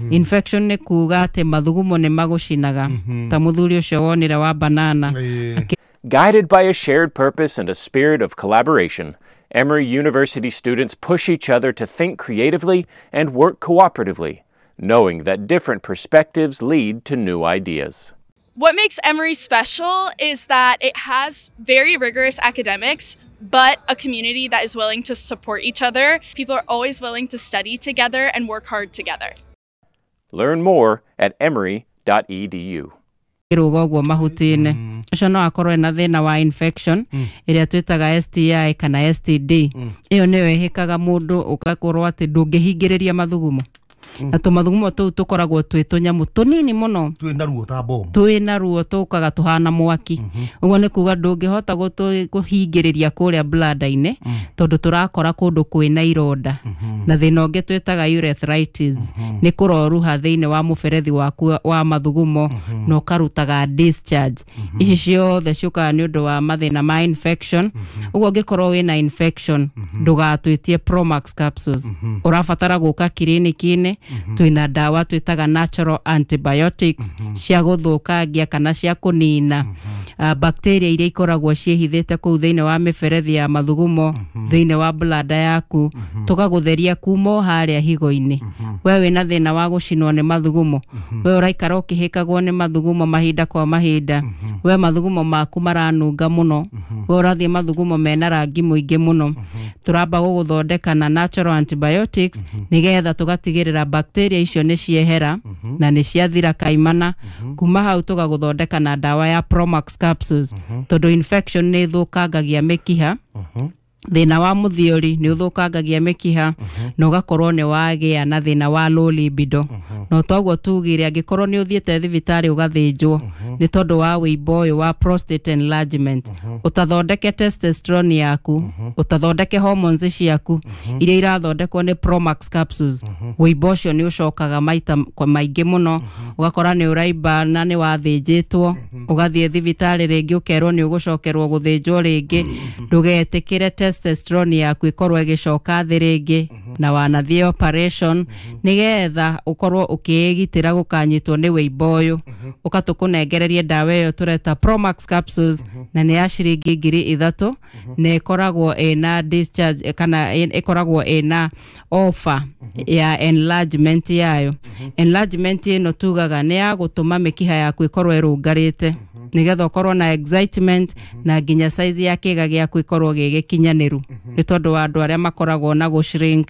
Infection nĩ kuga atĩ mathugumo nĩ magũcinaga ta mũthuri ũcio wonire wa banana. Guided by a shared purpose and a spirit of collaboration, Emory University students push each other to think creatively and work cooperatively, knowing that different perspectives lead to new ideas. What makes Emory special is that it has very rigorous academics, but a community that is willing to support each other. People are always willing to study together and work hard together. Learn more at emory.edu. Rũga ũguo mahuti-inĩ ũcio no akorwo ena thĩna wa infection ĩrĩa twĩtaga STI kana STD. Ĩyo nĩyo ĩhĩkaga mũndũ ũgakorwo atĩ ndũngĩhingĩrĩria mathugumo, na tũmathugumo tũu tũkoragwo twĩ tũnyamũ tũnini mũno twĩ na ruo ta bomu, twĩ na ruo tũkaga tũhana mwaki. Ũguo nĩ kuga ndũngĩhota kũhingĩrĩria kũrĩa bladder-inĩ tondũ tũrakora kũndũ kwĩna ironda. Na thĩna ũngĩ twĩtaga urethritis nĩ kũroruha thĩinĩ wa mũberethi waku wa mathugumo na ũkarutaga discharge. Ici ciothe ciũkaga nĩ ũndũ wa mathĩna ma infection. Ũguo ũngĩkorwo wĩna infection ndũgatwĩtie Promax capsules, ũrabatara gũka kiriniki-inĩ. Twĩna ndawa twĩtaga natural antibiotics cia gũthũkangia kana cia kũnina bacteria iria ikoragwo ciĩhithĩte kũu thĩinĩ wa mĩberethi ya mathugumo, thĩinĩ wa bladder yaku, tũgagũtheria kuma o harĩa higo-inĩ. We wĩna thĩna wa gũcinwo nĩ mathugumo, we ũraikara ũkĩhĩkagwo nĩ mathugumo mahinda kwa mahinda, we mathugumo maku maranunga mũno, we ũrathiĩ mathugumo mena rangi mũingĩ mũno, tũramba gũgũthondeka na natural antibiotics nĩgetha tũgatigĩrĩra bacteria icio nĩ ciehera na nĩ ciathira kaimana. Kuma hau tũgagũthondeka na ndawa ya Promax capsules tondũ infection nĩ ĩthũkangagia mĩkiha. Thĩna wa mũthiori nĩ ũthũkangagia mĩkiha na ũgakorwo nĩ wagĩa na thĩna wa low libido. No toguo tugire angĩkorwo nĩ ũthiĩte thibitarĩ ũgathĩnjwo nĩ tondũ wa wĩimbo ũyũ wa prostate enlargement, ũtathondeke testosterone yaku, ũtathondeke hormones ciaku iria irathondekwo nĩ Promax capsules, wĩimbo ũcio nĩ ũcokaga maita kwa maingĩ mũno, ũgakora nĩ ũraimba na nĩ wathĩnjĩtwo, ũgathiĩ thibitarĩ rĩngĩ ũkerwo nĩ ũgũcokerwo gũthĩnjwo rĩngĩ. Ndũgetĩkĩre testosterone yaku ĩkorwo ĩgĩcoka thĩ rĩngĩ na wanathiĩ operation nĩgetha ũkorwo ũkĩĩgitĩra gũkanyitwo nĩ wĩimbo ũyũ. Ũka tũkũnengererie ndawa ĩyo tũreta Promax capsules na nĩ ya ciringi 3,000 na ĩkoragwo ĩna discharge kana ĩkoragwo ĩna offer ya enlargement yayo. Enlargement ĩno tugaga nĩ ya gũtũma mĩkiha yaku ĩkorwo ĩrũngarĩte nĩgetha ũkorwo na excitement na nginya size ya kĩga gĩaku ĩkorwo gĩ gĩkinyanĩru, nĩ tondũ wa andũ arĩa makoragwo na gũ shrink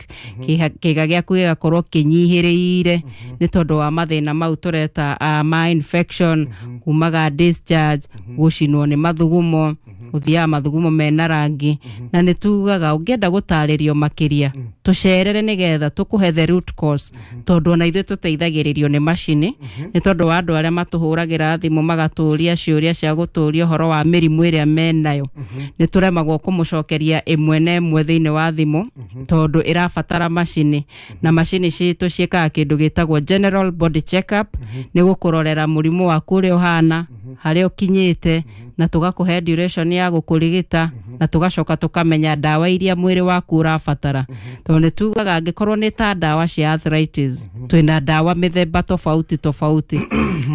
kĩga gĩaku gĩgakorwo kĩnyihĩrĩire nĩ tondũ wa mathĩna mau tũreta ma infection, kumaga discharge, gũcinwo nĩ mathugumo, gũthiaga mathugumo mena rangi. Na nĩ tugaga ũngĩenda gũtarĩrio makĩria tũcerere nĩgetha tũkũhe the root cause, tondũ ona ithuĩ tũteithagĩrĩrio nĩ macini, nĩ tondũ wa andũ arĩa matũhũragĩra thimũ magatũria ciũria cia gũtũria ũhoro wa mĩrimũ ĩrĩa menayo, nĩ tũremagwo kũmũcokeria ĩmwe na ĩmwe thĩinĩ wa thimũ tondũ ĩrabatara macini, na macini citũ ciĩkaga kĩndũ gĩtagwo general body check up, nĩ gũkũrorera mũrimũ waku ũrĩa ũhana, harĩa ũkinyĩte, na tũgakũhe duration ya gũkũrigita, na tũgacoka tũkamenya ndawa iria mwĩrĩ waku ũrabatara, tondũ nĩ tugaga angĩkorwo nĩ ta ndawa cia arthritis twĩna ndawa mĩthemba tofauti tofauti,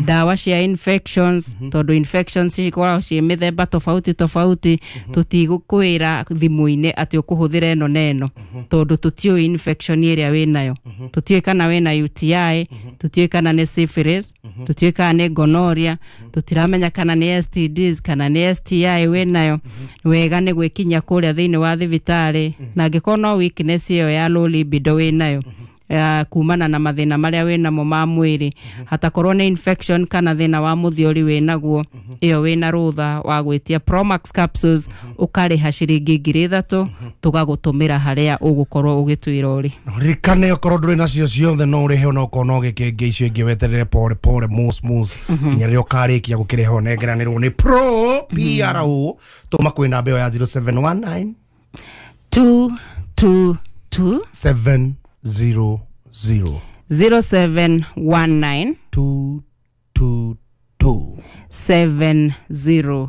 ndawa cia infections tondũ infections cikoragwo ciĩ mĩthemba tofauti tofauti. Tũtigũkwĩra thimũ-inĩ atĩ ũkũhũthĩra ĩno na ĩno tondũ tũtiũĩ infection ĩrĩa wĩnayo, tũtiũĩ kana wĩna UTI, tũtiũĩ kana nĩ syphilis, tũtiũĩ kana nĩ gonorrhea, tũtiramenya kana nĩ STDs kana nĩ STI wĩnayo. Wega nĩ gwĩkinya kũrĩa thĩinĩ wa thibitarĩ, na angĩkorwo no weakness ĩyo ya low libido wĩnayo kumana na mathĩna marĩa wĩnamo ma mwĩrĩ, hatakorwo nĩ infection kana thĩna wa mũthiori wĩnaguo, ĩyo wĩna rũtha wa gwĩtia Promax capsules, ũkarĩha ciringi 3,000 tũgagũtũmĩra harĩa ũgũkorwo ũgĩtwĩra ũrĩ. Ririkane okorwo ndũrĩ nacio ciothe no ũrĩhe, ona okorwo no gĩkĩngĩ icio ingĩ weterere pore pore mos mos nginya rĩrĩa ũkarĩkia gũkĩrĩha ũnengeranĩrwo nĩ Pro PRO. Tũma kwĩ namba ĩyo ya 0719 222 700. 0719 222 700.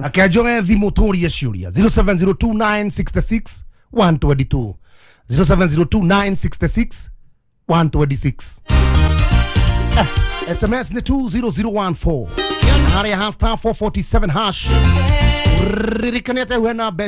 Akenjoe thimũ tũrie ciũria 0702966122 0702966126. SMS nĩ 20014 harĩa ha star 447 hash. Ririkane atĩ wena mbeca.